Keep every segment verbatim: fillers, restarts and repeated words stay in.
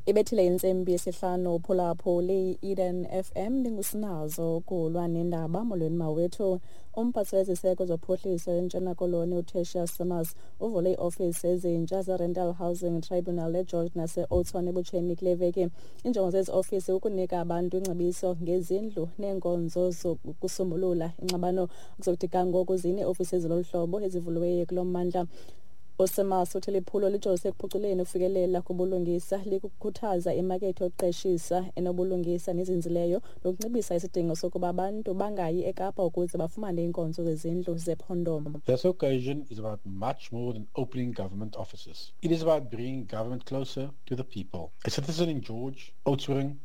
Ibethile intsimbi yesihlanu uphulaphuli Eden F M ndingusinazo kulwa nendaba. Molweni mawethu. Umphathiswa weziseko zophuhliso eNtshona Koloni uTertuis Simmers uvule iiofisi ezintsha zeRental Housing Tribunal eGeorge nase-Oudtshoorn ebutsheni kule veki. Injongo zezi ofisi kukunika abantu ingcebiso ngezindlu neenkonzo zokusombulula ingxabano. Kuzokuthi ga ngoku zine iiofisi ezilolu hlobo ezivuliweyo kulo mmandla. USimmers uthi liphulo lijolise ekuphuculeni ukufikelela kubulungisa, likukhuthaza imakethe yokuqeshisa enobulungisa nezinzileyo, nokunciphisa isidingo sokuba abantu bangayi eKapa ukuze bafumane iinkonzo zezindlu zephondo. This occasion is about much more than opening government offices. It is about bringing government closer to the people. A citizen in George, Oudtshoorn,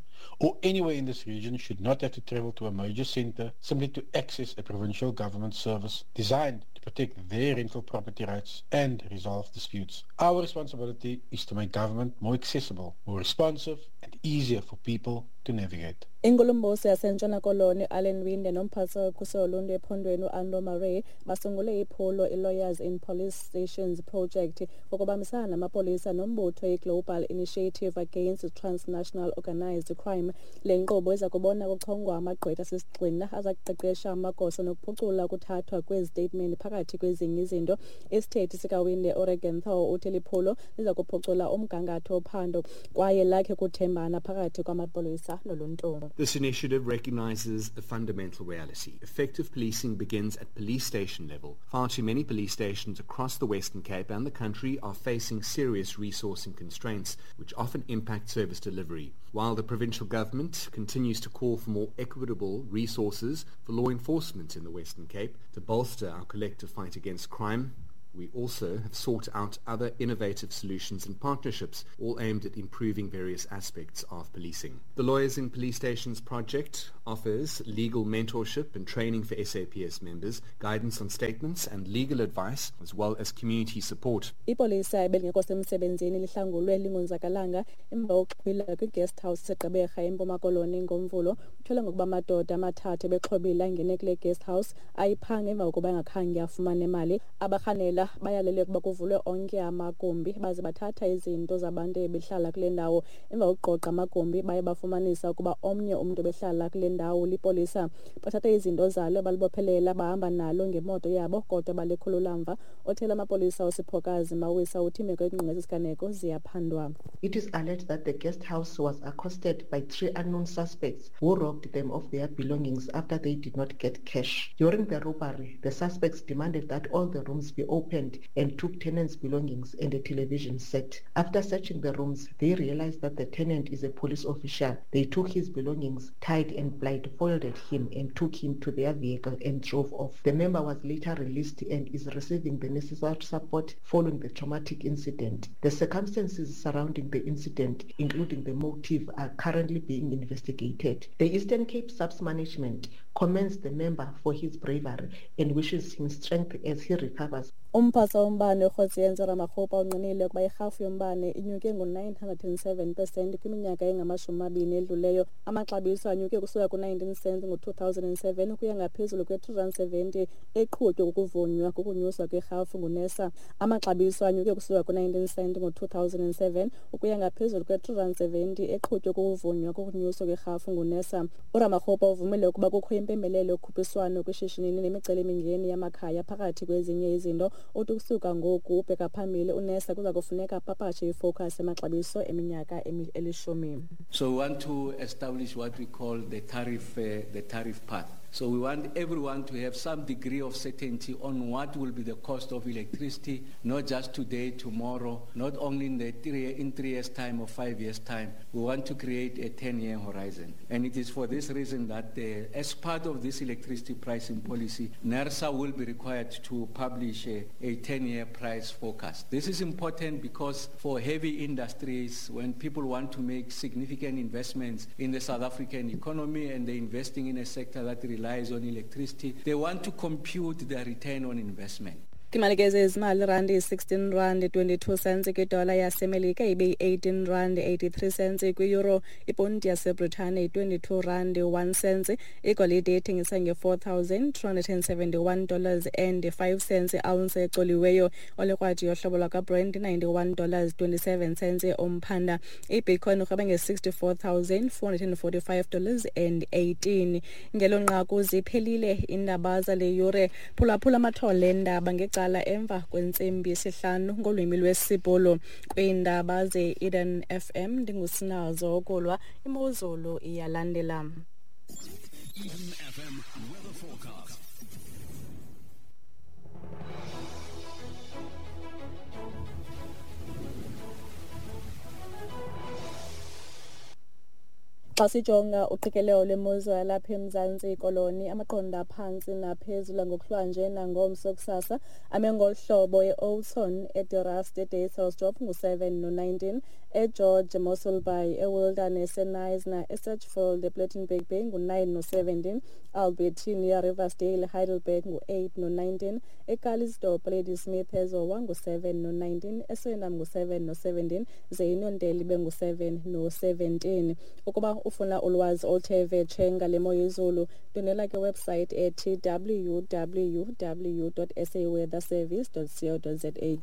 or anywhere in this region should not have to travel to a major center simply to access a provincial government service designed to protect their rental property rights and resolve disputes. Our responsibility is to make government more accessible, more responsive, and easier for people to navigate. Inkulumbuso yaseNtshona Koloni Alan Winde nomphathiswa wokhuselo loluntu ephondweni uAllo Marais basungule iphulo iLawyers in Police Stations Project ngokubambisana namapolisa nombutho iGlobal Initiative Against Transnational Organized Crime. Le nkqubo iza kubona kuchongwa amagqwetha asisigxina aza kuqeqesha amagosa nokuphucula ukuthathwa kwezitatimenti phakathi kwezinye izinto. Isithethi sikaWinde uRegan Thaw uthi liphulo liza kuphucula umgangatho wophando kwaye lakhe kuthembana phakathi kwamapolisa noluntu. This initiative recognizes a fundamental reality. Effective policing begins at police station level. Far too many police stations across the Western Cape and the country are facing serious resourcing constraints, which often impact service delivery. While the provincial government continues to call for more equitable resources for law enforcement in the Western Cape to bolster our collective fight against crime, we also have sought out other innovative solutions and partnerships, all aimed at improving various aspects of policing. The Lawyers in Police Stations project offers legal mentorship and training for S A P S members, guidance on statements and legal advice, as well as community support. Ipolisa ebelingekho semsebenzini lihlangulwe lingonzakalanga emva kokuxhwila kwi-guest house eseGqeberha eMpuma Koloni ngoMvulo. Kutyholwa ngokuba amadoda amathathu ebexhobile angene kule guest house ayiphanga emva kokuba engakhange afumane imali. Abarhanela bayalele ukuba kuvulwe onke amagumbi baze bathatha izinto zabantu ebehlala kule ndawo. Emva kokuqoqa amagumbi baye bafumanisa ukuba omnye umntu obehlala kule ndawo lipolisa. Bathatha izinto zalo balibophelela bahamba nalo ngemoto yabo kodwa balikhulula mva. Othela amapolisa uSiphokazi Mawisa uthi imeko engqonge esiganeko ziyaphandwa. It is alleged that the guest house was accosted by three unknown suspects who robbed them of their belongings after they did not get cash. During the robbery, the suspects demanded that all the rooms be opened and took tenants' belongings and a television set. After searching the rooms, they realized that the tenant is a police official. They took his belongings, tied and blindfolded him, and took him to their vehicle and drove off. The member was later released and is receiving the necessary support following the traumatic incident. The circumstances surrounding the incident, including the motive, are currently being investigated. The Eastern Cape S A P S management commends the member for his bravery and wishes him strength as he recovers. Umphathiswa wombane uKgosientsho Ramokgopa unqinile ukuba irhafu yombane inyuke ngo-nine hundred and seven percent kwiminyaka engamashumi amabini edluleyo. Amaxabiso anyuke kusuka ku-nineteen cents ngo-two thousand and seven ukuya ngaphezulu kwe-three rand seventy eqhutywe kukuvunywa kukunyuswa kwerhafu nguNERSA. Amaxabiso anyuke kusuka ku-nineteen cents ngo-two thousand and seven ukuya ngaphezulu kwe-three rand seventy eqhutywe kukuvunywa kukunyuswa kwerhafu nguNERSA. URamokgopa uvumile ukuba kukho impembelelo yokhuphiswano kwishishini nemicelimingeni yamakhaya phakathi kwezinye izinto. Uthi ukusuka ngoku ubheka phambili uNERSA kuza kufuneka apapashe ifocus emaxabiso eminyaka elishumi. So we want to establish what we call the tariff, uh, the tariff path. So we want everyone to have some degree of certainty on what will be the cost of electricity, not just today, tomorrow, not only in the three, in three years' time or five years' time. We want to create a ten-year horizon. And it is for this reason that, uh, as part of this electricity pricing policy, NERSA will be required to publish a, a ten-year price forecast. This is important because for heavy industries, when people want to make significant investments in the South African economy and they're investing in a sector that relies on electricity, they want to compute their return on investment. Imali ke zezimali, randi sixteen rand twenty-two cents kwidola yaseMelika, ibe yi-eighteen rand eighty-three cents kwi-euro. Iponti yaseBritane yi-twenty-two rand one cent. Igolide ithengisa nge-four thousand two hundred and seventy-one dollars and five cents i-ounce ecoliweyo. Olekrwadi yohlobo lwakwaBrent ninety-one dollars twenty-seven cents umphanda. Ibitcoin irhweba nge-sixty-four thousand four hundred and forty-five dollars and eighteen. Ngelo nqaku ziphelile iindaba zale yure. Phulaphula amathole endaba ngecala emva kwentsimbi yesihlanu ngolwimi lwesiBhulu. Kwiindaba ze-Eden F M ndingusinazo ukulwa, imozulu iyalandela. Eden F M weather forecast. Xa sijonga uqikelelo lwemozulu yalapha eMzantsi Koloni, amaqondo aphantsi naphezulu ngokuhlwanje nangomso kusasa ame ngolu hlobo: e-Oudtshoorn, eDe-Rust, eDysselsdorp ngu-seven no-nineteen, eGeorge, Mossel Bay, eWilderness, eKnysna, eSedgefield, ePlettenberg Bay ngu-nine no-seventeen, Albertinia, Riversdale, Heidelberg ngu-eight no-nineteen, eCalitzdorp, Ladysmith, eZowa ngu-seven no-nineteen, eSuriname ngu-seven no-seventeen, ze iNonteli ibe ngu-seven no-seventeen. Ukuba ufuna ulwazi oluthe vetshe ngale mo yezulu, ndwendwela ke website ethi w w w dot s a weather service dot co dot z a.